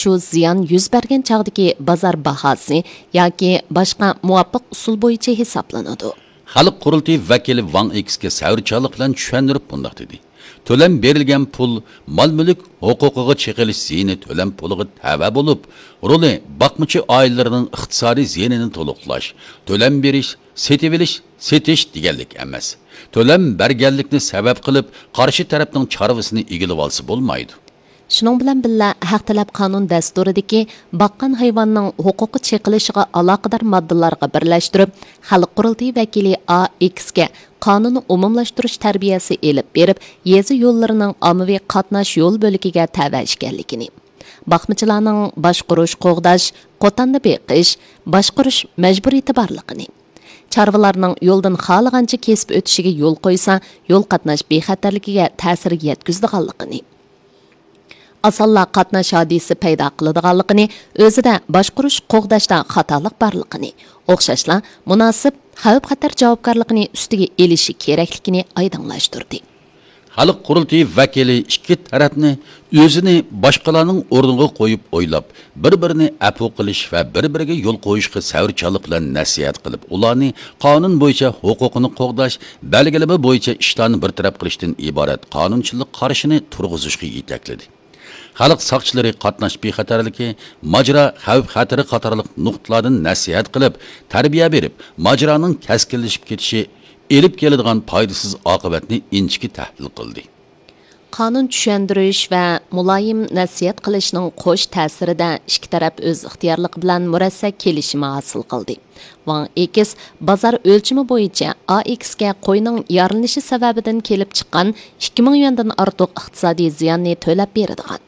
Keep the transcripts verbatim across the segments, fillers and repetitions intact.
شۇ زىيان يۈز بەرگەن چاغدىكى بازار باھاسى ياكى باشقا مۇۋاپىق ئۇسۇل بويىچە ھېسابلىنىدۇ. خەلق قۇرۇلتىيى ۋەكىلى ۋاڭ ئېكسكە سەۋرچانلىق بىلەن چۈشەندۈرۈپ مۇنداق دېدى: تۆلەم بېرىلگەن پۇل مال-مۈلۈك ھوقۇقىغا چېقىلىش زىيىنى تۆلەم پۇلىغا تەۋە بولۇپ، رولى باقمىچى ئائىلىلەرنىڭ ئىقتىسادىي زىيىنىنى تولۇقلاش، تۆلەم بېرىش، سېتىۋېلىش، سېتىش دېگەنلىك ئەمەس. تۆلەم بەرگەنلىكنى سەۋەب قىلىپ، قارشى تەرەپنىڭ چارۋىسىنى ئىگىلىۋالسا بولمايدۇ. شۇنىڭ بىلەن بىللە، ھەق تەلەپ قانۇن دەستۇرىدىكى باققان ھايۋاننىڭ ھوقۇقى چېقىلىشىغا ئالاقىدار ماددىلارغا بىرلەشتۈرۈپ، خەلق قۇرۇلتىيى ۋەكىلى ئا ئېكسكە قانۇننى ئومۇملاشتۇرۇش تەربىيەسى ئېلىپ بېرىپ، يېزا يوللىرىنىڭ ئاممىۋى قاتناش يول بۆلىكىگە تەۋە ئىكەنلىكىنى، باقمىچىلارنىڭ باشقۇرۇش، قوغداش، قوتاندا بېقىش، باشقۇرۇش مەجبۇرىيىتى بارلىقىنى، چارۋىلارنىڭ يولدىن خالىغانچە كېسىپ ئۆتۈشىگە يول قويسا، يول قاتناش بىخەتەرلىكىگە تەسىر يەتكۈزىدىغانلىقىنى، ئاسانلا قاتناش ھادىسىسى پەيدا قىلىدىغانلىقىنى، ئۆزىدە باشقۇرۇش، قوغداشتا خاتالىق بارلىقىنى، ئوخشاشلا مۇناسىپ خەۋپ-خەتەر جاۋابكارلىقىنى ئۈستىگە ئېلىشى كېرەكلىكىنى ئايدىڭلاشتۇردى. خەلق قۇرۇلتىيى ۋەكىلى ئىككى تەرەپنى ئۆزىنى باشقىلارنىڭ ئورنىغا قويۇپ ئويلاپ، بىر-بىرىنى ئەپۇ قىلىش ۋە بىر-بىرىگە يول قويۇشقا سەۋرچانلىق بىلەن نەسىھەت قىلىپ، ئۇلارنى قانۇن بويىچە ھوقۇقىنى قوغداش، بەلگىلىمە بويىچە ئىشلارنى بىر تەرەپ قىلىشتىن ئىبارەت قانۇنچىلىق قارىشىنى تۇرغۇزۇشقا يېتەكلىدى. خەلق ساقچىلىرى قاتناش بىخەتەرلىكى، ماجىرا خەۋپ-خەتىرى قاتارلىق نۇقتىلاردىن نەسىھەت قىلىپ، تەربىيە بېرىپ، ماجىرانىڭ كەسكىنلىشىپ كېتىشى ئېلىپ كېلىدىغان پايدىسىز ئاقىۋەتنى ئىنچىكە تەھلىل قىلدى. قانۇن چۈشەندۈرۈش ۋە مۇلايىم نەسىھەت قىلىشنىڭ قوش تەسىرىدە ئىككى تەرەپ ئۆز ئىختىيارلىقى بىلەن مۇرەسسە كېلىشىمى ھاسىل قىلدى. ۋاڭ ئېكس بازار ئۆلچىمى بويىچە ئا ئېكسكە قوينىڭ يارىلىنىشى سەۋەبىدىن كېلىپ چىققان ئىككى مىڭ يۈەندىن ئارتۇق ئىقتىسادىي زىياننى تۆلەپ بېرىدىغان.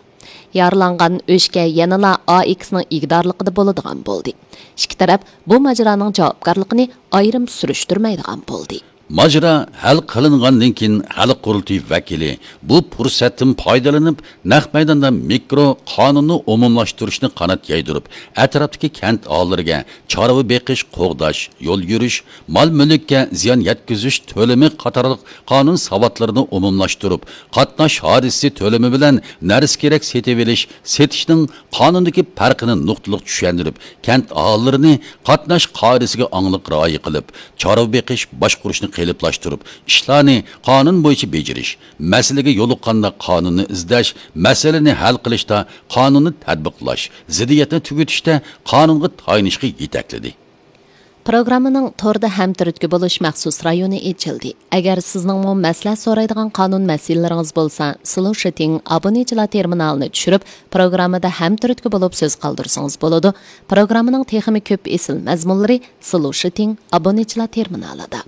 يارىلانغان ئۆچكە يەنىلا ئا ئېكسنىڭ ئىگىدارلىقىدا بولىدىغان بولدى. ئىككى تەرەپ بۇ ماجىرانىڭ جاۋابكارلىقىنى ئايرىم سۈرۈشتۈرمەيدىغان بولدى. ماجىرا ھەل قىلىنغاندىن كېيىن، خەلق قۇرۇلتىيى ۋەكىلى بۇ پۇرسەتتىن پايدىلىنىپ، نەق مەيداندا مىكرو قانۇننى ئومۇملاشتۇرۇشنى قانات يايدۇرۇپ، ئەتراپتىكى كەنت ئاھالىلىرىگە چارۋا بېقىش، قوغداش، يول يۈرۈش، مال-مۈلۈككە زىيان يەتكۈزۈش تۆلىمى قاتارلىق قانۇن ساۋاتلىرىنى ئومۇملاشتۇرۇپ، قاتناش ھادىسىسى تۆلىمى بىلەن نەرسە-كېرەك سېتىۋېلىش، سېتىشنىڭ قانۇندىكى پەرقىنى نۇقتىلىق چۈشەندۈرۈپ، كەنت ئاھالىلىرىنى قاتناش قائىدىسىگە ئاڭلىق رىئايە قىلىپ، چارۋا بېقىش، باشقۇرۇشنى قېلىپلاشتۇرۇپ، ئىشلارنى قانۇن بويىچە بېجىرىش، مەسىلىگە يولۇققاندا قانۇننى ئىزدەش، مەسىلىنى ھەل قىلىشتا قانۇننى تەتبىقلاش، زىددىيەتنى تۈگىتىشتە قانۇنغا تايىنىشقا يېتەكلىدى. پروگراممىنىڭ توردا ھەمتۈرتكە بولۇش مەخسۇس رايونى ئېچىلدى. ئەگەر سىزنىڭمۇ مەسلىھەت سورايدىغان قانۇن مەسىلىلىرىڭىز بولسا، سلۇشىتىڭ ئابۇنىچىلار تېرمىنالىنى چۈشۈرۈپ، پروگراممىدا ھەمتۈرتكە بولۇپ سۆز قالدۇرسىڭىز بولىدۇ. پروگراممىنىڭ تېخىمۇ كۆپ ئېسىل مەزمۇنلىرى سلۇشىتىڭ ئابۇنىچىلار تېرمىنالىدا.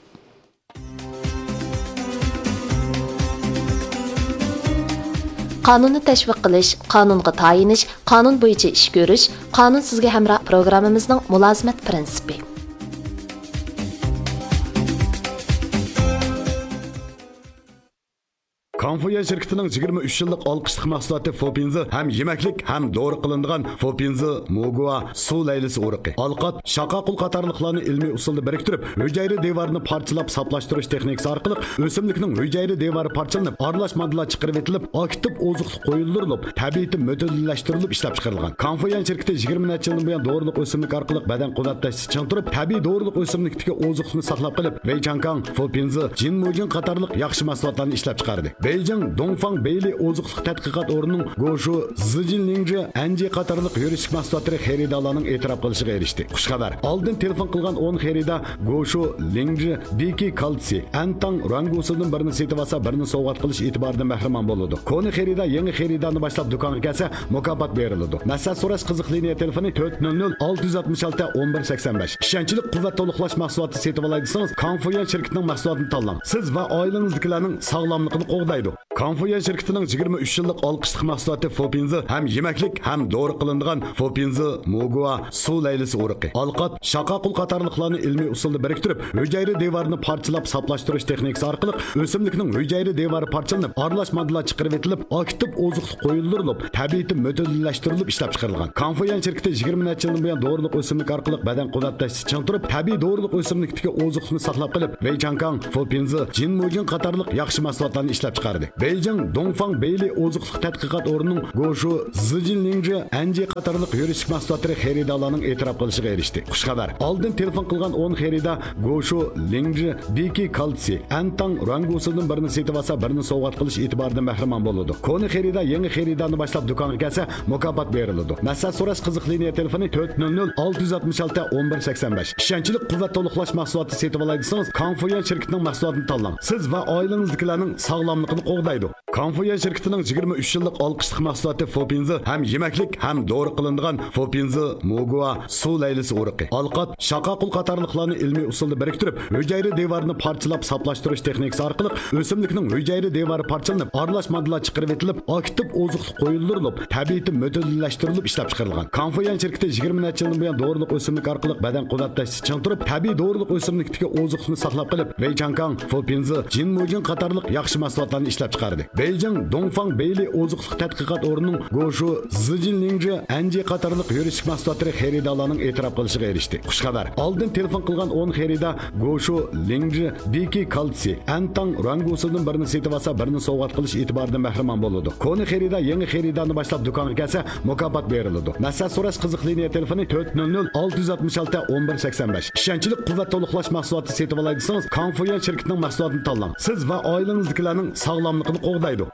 قانۇننى تەشۋىق قىلىش، قانۇنغا تايىنىش، قانۇن بويىچە ئىش كۆرۈش، قانۇن سىزگە ھەمراھ پروگراممىمىزنىڭ مۇلازىمەت پىرىنسىپى. كاڭفۇيۈەن شىركىتىنىڭ يىگىرمە ئۈچ يىللىق ئالقىشلىق مەھسۇلاتى فوپىنزى ھەم يېمەكلىك، ھەم دورا قىلىنىدىغان فوپىنزى موگۇا سۇ لەيلىسى ئۇرۇقى، ئالقات، شاقاقۇل قاتارلىقلارنى ئىلمىي ئۇسۇلدا بىرىكتۈرۈپ، ھۈجەيرە دىۋارىنى پارچىلاپ ساپلاشتۇرۇش تېخنىكىسى ئارقىلىق ئۆسۈملۈكنىڭ ھۈجەيرە دىۋارى پارچىلىنىپ، ئارىلاش ماددىلار چىقىرىۋېتىلىپ، ئاكتىپ ئوزۇقلۇق قويۇلدۇرۇلۇپ، تەبىئىتى مۆتىدىللەشتۈرۈلۈپ ئىشلەپچىقىرىلغان. كاڭفۇيۈەن شىركىتى يىگىرمە نەچچە يىلدىن بۇيان دورىلىق ئۆسۈملۈك ئارقىلىق بەدەن قۇۋۋەتلەشتە چىڭ تۇرۇپ، تەبىئىي دورىلىق ئۆسۈملۈكتىكى ئوزۇقلۇقنى ساقلاپ قېلىپ، ۋېيچاڭكاڭ، فوپىنزى، جىنمۇجىڭ قاتارلىق ياخشى مەھسۇلاتلارنى ئىشلەپچىقاردى. بېيجىڭ دۇڭفاڭ بېيلى ئوزۇقلۇق تەتقىقات ئورنىنىڭ گوشۇ زىجىنلىڭجى ئەنجى قاتارلىق يۈرۈشلۈك مەھسۇلاتلىرى خېرىدارلارنىڭ ئېتىراپ قىلىشىغا ئېرىشتى. خۇش خەۋەر! ئالدىن تېلېفون قىلغان ئون خېرىدار گوشۇ لىڭجى دېكى كالتسىي، ئەنتاڭ رەڭگۇسىدىن بىرنى سېتىۋالسا، بىرنى سوۋغات قىلىش ئېتىبارىدىن بەھرىمەن بولىدۇ. كونا خېرىدار يېڭى خېرىدارنى باشلاپ دۇكانغا كەلسە، مۇكاپات بېرىلىدۇ. مەسلىھەت سوراش قىزىق لىنىيە تېلېفونى تۆت نۆل نۆل ئالتە يۈز ئاتمىش ئالتە ئون بىر سەكسەن بەش. ئىشەنچلىك قۇۋۋەت تولۇقلاش مەھسۇلاتى سېتىۋالاي دېسىڭىز، كاڭفۇيۈەن شىركىتىنىڭ مەھسۇلاتىنى تاللاڭ. سىز ۋە ئائىلىڭىزدىكىلەرنىڭ ساغلاملىقىنى قوغدايدۇ. كاڭفۇيۈەن شىركىتىنىڭ يىگىرمە ئۈچ يىللىق ئالقىشلىق مەھسۇلاتى فوپىنزى ھەم يېمەكلىك، ھەم دورا قىلىنىدىغان فوپىنزى موگۇا سۇ لەيلىسى ئۇرۇقى، ئالقات، شاقاقۇل قاتارلىقلارنى ئىلمىي ئۇسۇلدا بىرىكتۈرۈپ، ھۈجەيرە دىۋارىنى پارچىلاپ ساپلاشتۇرۇش تېخنىكىسى ئارقىلىق ئۆسۈملۈكنىڭ ھۈجەيرە دىۋارى پارچىلىنىپ، ئارىلاش ماددىلار چىقىرىۋېتىلىپ، ئاكتىپ ئوزۇقلۇق قويۇلدۇرۇلۇپ، تەبىئىتى مۆتىدىللەشتۈرۈلۈپ ئىشلەپچىقىرىلغان. كاڭفۇيۈەن شىركىتى يىگىرمە نەچچە يىلدىن بۇيان دورىلىق ئۆسۈملۈك ئارقىلىق بەدەن قۇۋۋەتلەشتە چىڭ تۇرۇپ، تەبىئىي دورىلىق ئۆسۈملۈكتىكى ئوزۇقلۇقنى ساقلاپ قېلىپ، ۋېيچاڭكاڭ، فوپىنزى، جىنمۇجىڭ قاتارلىق ياخشى مەھسۇلاتلارنى ئىشلەپچىقاردى. بېيجىڭ دۇڭفاڭ بېيلى ئوزۇقلۇق تەتقىقات ئورنىنىڭ گوشۇ، زىجىنلىڭجى، ئەنجى قاتارلىق يۈرۈشلۈك مەھسۇلاتلىرى خېرىدارلارنىڭ ئېتىراپ قىلىشىغا ئېرىشتى. خۇشخەۋەر! ئالدىن تېلېفون قىلغان ئون خېرىدار گوشۇ، لىڭجى، بىكى كالتسىي، ئەنتاڭ رۇەنگۇسىدىن بىرنى سېتىۋالسا، بىرنى سوۋغات قىلىش ئېتىبارىدىن مەھرۇمان بولىدۇ. كونا خېرىدار يېڭى خېرىدارنى باشلاپ دۇكانغا كەلسە، مۇكاپات بېرىلىدۇ. مەسلىھەت سوراش قىزىق لىنىيە تېلېفونى تۆت نۆل نۆل ئالتە يۈز ئاتمىش ئالتە ئون بىر سەكسەن بەش. ئىشەنچلىك قۇۋۋەت تولۇقلاش مەھسۇلاتى سېتىۋالاي دېسىڭىز، كاڭفۇيۈەن شىركىتىنىڭ مەھسۇلاتىنى تاللاڭ. سىز ۋە ئائىلىڭىزدىكىلەرنىڭ ساغلاملىقىنى قوغدايدۇ. كاڭفۇيۈەن شىركىتىنىڭ يىگىرمە ئۈچ يىللىق ئالقىشلىق مەھسۇلاتى فوپىنزى ھەم يېمەكلىك ھەم دورا قىلىنىدىغان فوپىنزى، موگۇا، سۇ لەيلىسى ئۇرۇقى، ئالقات، شاقاقۇل قاتارلىقلارنى ئىلمىي ئۇسۇلدا بىرىكتۈرۈپ، ھۈجەيرە دىۋارىنى پارچىلاپ ساپلاشتۇرۇش تېخنىكىسى ئارقىلىق ئۆسۈملۈكنىڭ ھۈجەيرە دىۋارى پارچىلىنىپ، ئارىلاش ماددىلار چىقىرىۋېتىلىپ، ئاكتىپ ئوزۇقلۇق قويۇلدۇرۇلۇپ، تەبىئىتى مۆتىدىللەشتۈرۈلۈپ ئىشلەپچىقىرىلغان. كاڭفۇيۈەن شىركىتى يىگىرمە نەچچە يىلدىن بۇيان دورىلىق ئۆسۈملۈك ئارقىلىق بەدەن قۇۋۋەتلەشتە چىڭ تۇرۇپ، تەبىئىي دورىلىق ئۆسۈملۈكتىكى ئوزۇقلۇقنى ساقلاپ قېلىپ، ۋېيچاڭكاڭ، فوپىنزى، جىنمۇجىن قاتارلىق ياخشى مەھسۇلاتلارنى ئىشلەپچىقاردى. بېيجىڭ دۇڭفاڭ بېيلى ئوزۇقلۇق تەتقىقات ئورنىنىڭ گوشۇ، زىجىنلىڭجى، ئەنجى قاتارلىق يۈرۈشلۈك مەھسۇلاتلىرى خېرىدارلارنىڭ ئېتىراپ قىلىشىغا ئېرىشتى. خۇشخەۋەر! ئالدىن تېلېفون قىلغان ئون خېرىدار گوشۇ، لىڭجى، بىكى كالتسىي، ئەنتاڭ رۇەنگۇسىدىن بىرنى سېتىۋالسا، بىرنى سوۋغات قىلىش ئېتىبارىدىن مەھرۇمان بولىدۇ. كونا خېرىدار يېڭى خېرىدارنى باشلاپ دۇكانغا كەلسە، مۇكاپات بېرىلىدۇ. مەسلىھەت سوراش قىزىق لىنىيە تېلېفونى تۆت نۆل نۆل ئالتە يۈز ئاتمىش ئالتە ئون بىر سەكسەن بەش. ئىشەنچلىك قۇۋۋەت تولۇقلاش مەھسۇلاتى سېتىۋالاي دېسىڭىز، كاڭفۇيۈەن شىركىتىنىڭ مەھسۇلاتىنى تاللاڭ. سىز ۋە ئائىلىڭىزدىكىلەرنىڭ ساغلاملىقىنى قوغدايدۇ.